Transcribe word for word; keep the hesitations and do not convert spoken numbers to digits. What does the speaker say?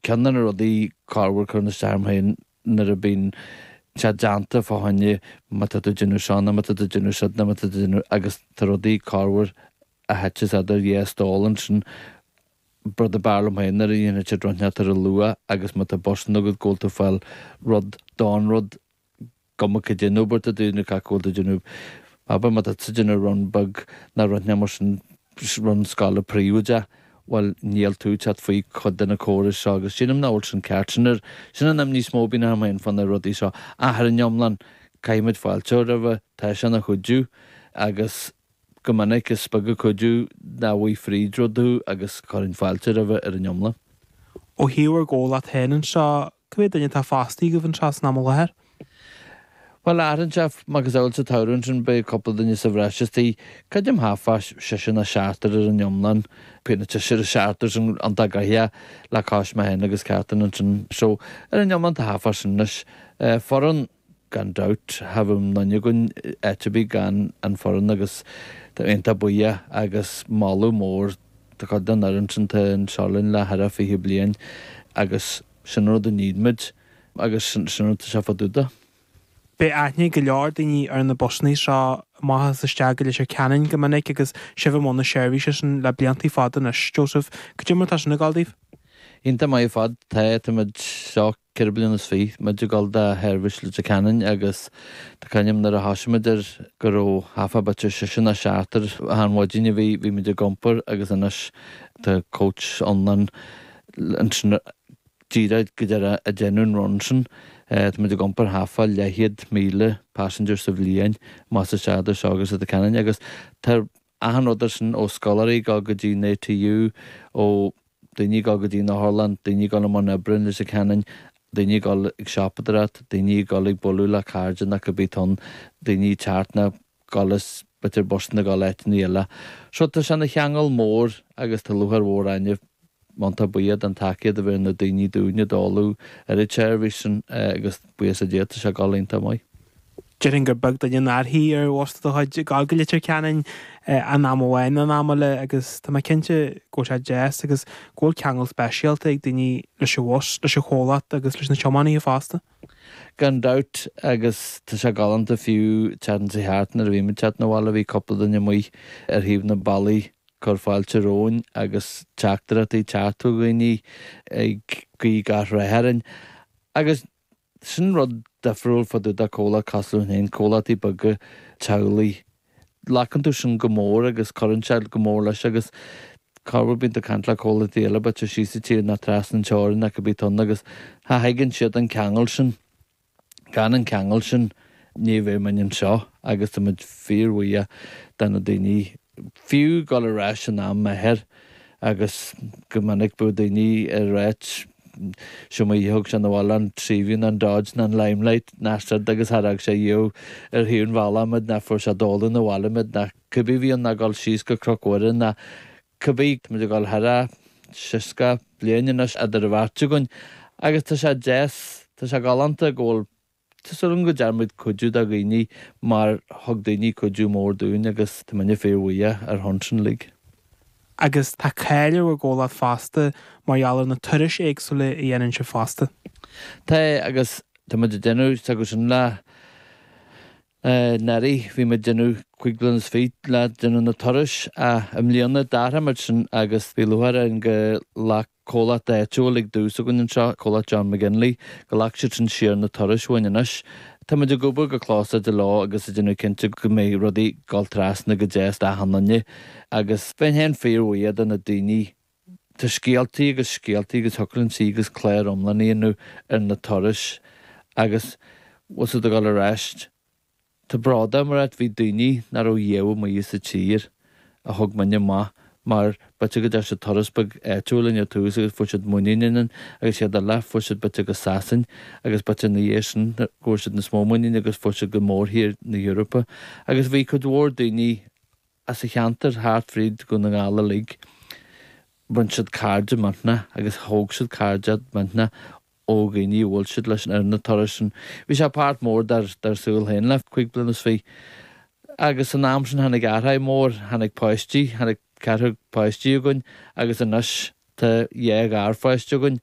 Ceann de na rudaí corruair cuireann isteach orm féin nuair a bíonn sé déanta fá choinne má tá tú ag déanamh seo nó má tá tú ag déanamh siúd nó má tá tú ag déanamh agus tá rudaí corruair a thiteas idir dhá stól ansin. Rud ab fhearr liom féin nuair a dhéanann siad rud inteacht ar a luath agus má tá busanna agat go bhfuil tú ag fáil rud don rud cuma cad é an obair atá tú nó cad go bhfuil tú ag déanamh. Abair má tá tú ag déanamh run beag nó rud inteacht mar sin run scoile príobháideach, bhuel níl tú ag teacht faoi chuid de na córais seo agus sílim nach bhfuil sin ceart. Sin ar sin an imní is mó a bhíonn orm féin fá na rudaí seo. Ach ar an iomlán caithfimid fáilte a chur roimhe, tá sé ina chuidiú agus go minic is beag an cuidiú nach bhfaighidh fríd rud thú agus chuirfinn fáilte roimhe ar an iomlán. Ó thaobh bhur gcomhlacht féin anseo, cá mhéad duine atá fostaithe agaibh anseo san am i láthair? Bhuel, athraíonn sé, macasamhail sa tsamhradh ansin beidh cúpla duine sa bhreis istigh, creidim thart fá seisear nó seachtar ar an iomlán, beidh na seisear is seachtar sin iontach gnoitheach le cois mé féin agus Catherine ansin. So, ar an iomlán tá thart fá sin anois. Foireann, gan dabht, cha bheadh aon duine againn áit ar bith gan an foireann agus tá iontach buíoch agus moladh mór do chuid den fhoireann sin atá anseo linn le thar a fiche bliain agus sin an rud a need muid agus sin an rud atá sé fá dtaobh de. Beidh aithne ag go leor daoine ar na busanna seo amach is isteach go Leitir Ceanainn go minic agus sibh i mbun na seirbhíse sin le blianta fada anois. Joseph, cad é mar atá sin ag dul daoibh? Iontach maith ar fad. Tá, táimid seo ceithre bliana is fiche, muid ag dul do sheirbhís Leitir Ceanainn agus tá cuimhne agam nuair a thosaigh muid air go raibh thart fá b'fhéidir seisear nó seachtar achan mhaidin a bhí, bhí muid ag iompar agus anois tá coach iomlán ansin díreach go deireadh ag déanamh an run sin. Tá muid ag iompar thart fá leathchéad míle passenger sa bhliain amach is isteach idir seo agus Leitir Ceanainn agus tá achan rud air sin ó scoláirí ag dul go dtí an ATU, ó daoine ag dul go dtí an otharlann, daoine ag dul i mbun oibre in Leitir Ceanainn, daoine ag dul ag siopadóireacht, daoine ag dul ag bualadh le cairde nó cibé atá ann, daoine ag teacht nó dul as b'fhéidir busanna ag dul áiteanna eile. So tá sé ina cheangal mór agus tá lúcháir mhór orainne iontach buíoch den tacaíocht a bhí ar na daoine dúinn ag dáileadh ar an tseirbhís sin agus buíochas le Dia tá sé ag dul iontach maith. Déarfainn gur beag duine nár shuigh ar bhus de do chuid ag dul go Leitir Ceanainn in am amháin nó in am eile agus tá mé cinnte go bhfuil sé deas agus go bhfuil ceangal speisialta ag daoine leis an bhus, leis an chomhlacht agus leis na tiománaithe fosta. Gan dabht agus tá sé galánta fiú teacht sa cheart nuair a bhí muid teacht 'na bhaile bhí cúpla duine amuigh ar thaobh na bealaí cur fáilte romhainn agus teachtaireachtaí teacht ó dhaoine ag guí gach rath orainn. Agus sin rud difriúil fá dtaobh de comhlacht cosúil linn féin, comhlachtaí beaga teaghlaigh. Glacann tú sin go mór agus cuireann sé go mór leis agus corruair bíonn tú ag caint le comhlachtaí eile b'fhéidir síos sa tír nó trasna an teorainn nó cibé atá ann agus cha thuigeann siad an ceangal sin. Gan an ceangal sin ní bheadh muid anseo agus tá muid fíorbhuíoch de na daoine fiú dul ar ais in am m'athair agus go minic bheadh daoine ag ráit seo mar thug sé 'na bhaile an Seaview nó an Dodge nó an Limelight ná siad agus cha raibh sé riamh ar thaobh an bhealaigh muid ná fuair sé dul 'na bhaile muid ná cibé bhí ann ná dul síos go Cnoc Mhuire ná cibé tá muid ag dul thar a seasca bliain anois idir an bheirt againn agus tá sé deas tá sé galánta go bhfuil Tá súil agam go ndearna muid cuidiú do dhaoine mar thug daoine cuidiú mór dúinn agus tá muidne fíorbhuíoch ar shon sin uilig. Agus tá cáil ar bhur gcomhlacht fosta mar gheall ar na turais éagsúla a dhéanann sibh fosta. Tá agus tá muid ag déanamh s'acu sin le anuraidh bhí muid ag déanamh cúig bliana is fiche le déanamh na turais ach i mbliana d'athraigh muid sin agus bhí lúcháir orainn go ghlac comhlacht áitiúil ag dtús againn anseo, comhlacht John McGinley, go ghlac siad sin siar na turais uainn anois. Tá muid ag obair go close leo agus ag déanamh cinnte go mbeidh rudaí ag dul trasna go deas d'achan duine agus bheinn féin fíorbhuíoch de na daoine Tá scéaltaí agus scéaltaí agus thiocfadh linn suí agus clár iomlán a dhéanamh ar na turais agus bhfuil siad ag dul ar ais. Tá bród orm a rá bhí daoine nach raibh riamh amuigh sa tír a thug muidne amach mar b'fhéidir go dtearn siad turas beag áitiúil linn ar tús agus fuair siad muinín ionainn agus siad eile fuair siad b'fhéidir go Sasain agus b'fhéidir ina dhiaidh sin go bhfuair siad níos mó muinín agus fuair siad go mórthír na hEorpa agus bhí cuid mhór daoine as a cheantar thart fríd Dhún na nGall uilig bhain siad cairde millteanach agus thóg siad cairde millteanach ó dhaoine a bhuail siad leis ar na turais sin. Bhí sé páirt mór dár dár saol féin le cúig bliana is fiche. Agus san am sin tháinig athrú mór, tháinig páistí, tháinig ceathrar páistí againn agus anois tá dhá gharpháiste againn.